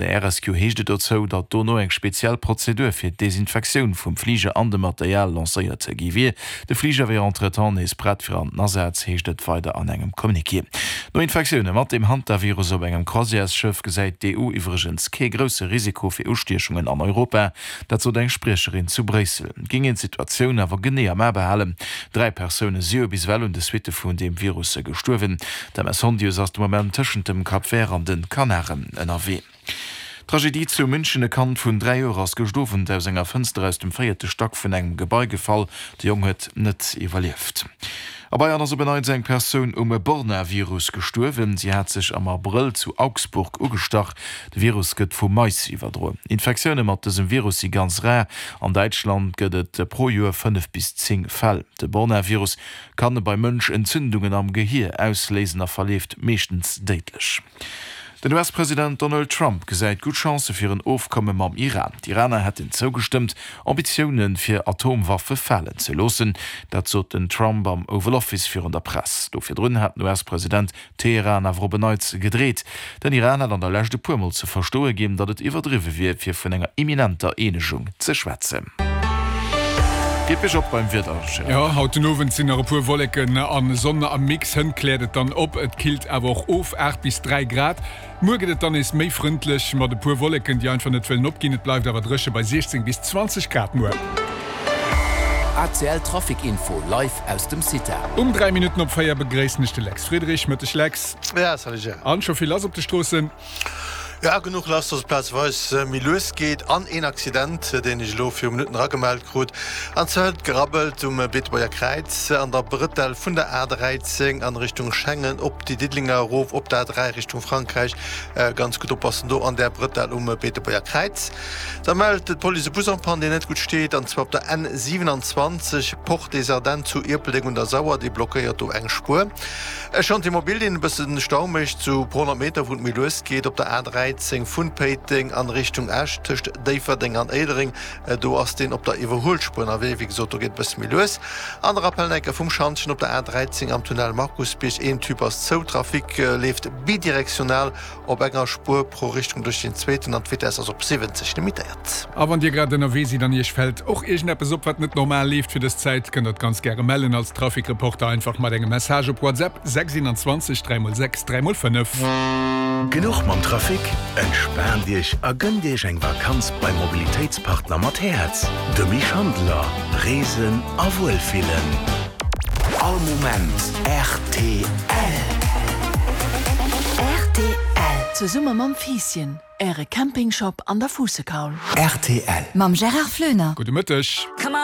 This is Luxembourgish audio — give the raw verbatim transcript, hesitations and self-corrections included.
Der R S Q heescht et dozou, datt dono eng speziell Prozedur fir d'Desinfektioun vum Fliger an dem Material lancéiert gi wier. De Fliger wier entretemps nees prett fir an den Asaz, heescht et weider an engem Communiqué. No Infektioune mat dem Hantavirus op engem Croisièresschëff gesäit d'E U iwwregens kee grousse Risiko fir Ustiechungen an Europa. Dat sot eng Spriecherin zu Bréissel. Géing een d'Situatioun awer genee am A behalen. Dräi Persoune si jo bis ewell un de Suitte vun deem Virus gestuerwen. D'M S Hondius ass de Moment tëschent dem Cap Vert an de Kanaren ënnerwee. Tragedie zu München: E Kand vun dräi Joer ass gëscht Owend aus enger Fënster aus dem véierte Stack vun engem Gebai gefall. De Jong huet net iwwerlieft. A Bayern ass op en Neits eng Persoun um Borna-Virus gestuerwen. Si hat sech am Abrëll zu Augsburg ugestach. De Virus gëtt vu Mais iwwerdroen. Infektioune mat dësem Virus si ganz rar. An Däitschland gëtt et pro Joer fënnef bis zéng Fäll. De Borna-Virus kann beim Mënsch Entzündungen am Gehier ausléisen a verleeft meeschtens déidlech. Den U S-President Donald Trump gesäit gutt Chancë fir en Ofkomme mam Iran. D'Iraner hätten zougestëmmt, Ambitioune fir Atomwaffe falen ze loossen. Dat sot den Trump am Oval Office virun der Press. Do virdrun hat den U S-President Teheran awer op en Neits gedreet. Den Iran hat an der Lescht e puer Mol ze verstoe ginn, datt et iwwerdriwwe wier, fir vun enger imminenter Eenegung ze schwätzen. Geet bergop beim Wieder, Gérard? Jo, haut den Owend sinn nach e puer Wolleken an Sonn am Mix. Hënt kläert et dann op, et killt awer och of, aacht bis dräi Grad. Muer gëtt et dann nees méi frëndlech mat e puer Wolleken, déi einfach net wëllen opginn. Et bleift awer dréche bei siechzéng bis zwanzeg Grad muer. A C L Trafic Info live aus dem CITA. Um dräi Minutten op véier begréissen ech de Lex Friedrich. Mëtteg, Lex. Ja, salut Gérard. An scho vill lass op de Stroossen? Ja, genuch lass, dass et plazeweis méi lues geet an een Accident, deen ech elo viru Minutten eragemellt krut. An zwar huet et gerabbelt um Beetebuerger Kräiz an der Brëtell vun der A dräizéng an Richtung Schengen op déi Diddelenger erof op der A dräi Richtung Frankräich. Ganz gutt oppassen do an där Brëtell um Beetebuerger Kräiz. Da mellt d'Police e Bus en panne, deen net gutt steet, an zwar op der N siewenanzwanzeg Porte des Ardennes zu Ierpeldeng un der Sauer, dee blockéiert do eng Spuer. E Chantier mobile, deen e bëssen Stau mécht zu pro honnert Meter, wou et méi lues geet op der A dräizéng vun Péiteng an Richtung Esch tëscht Déifferdeng an Éilereng. Do ass deen op der Iwwerhuelspuer ënnerwee. Wéi gesot, do geet e bësse méi lues. An de Rappel enker vum Schantjen op der A dräizéng am Tunnel Markusbierg, een Tube ass zou, Trafic leeft bidirektional op enger Spuer pro Richtung duerch den zweeten an d'Vitess ass op siwwenzeg limitéiert. A wann Dir grad ënnerwee sidd an Iech fält och iergendeppes op, wat net normal leeft fir dës Zäit, kënnt der et ganz gäre mellen als Trafic-Reporter einfach mat engem Message op WhatsApp sechs dräi mol sechs dräi mol fënnef. Genuch mam Trafic? Entspaant Iech a gënnt Iech eng Vakanz beim Mobilitéitspartner mat Häerz, de Schandler. Reesen a Wuelfillen. All Moment R T L. R T L. Zesumme mam Fiisschen, Äre Campingshop an der Fuussekaul. R T L. Mam Gérard Flöner. Gudde Mëtteg. Come on.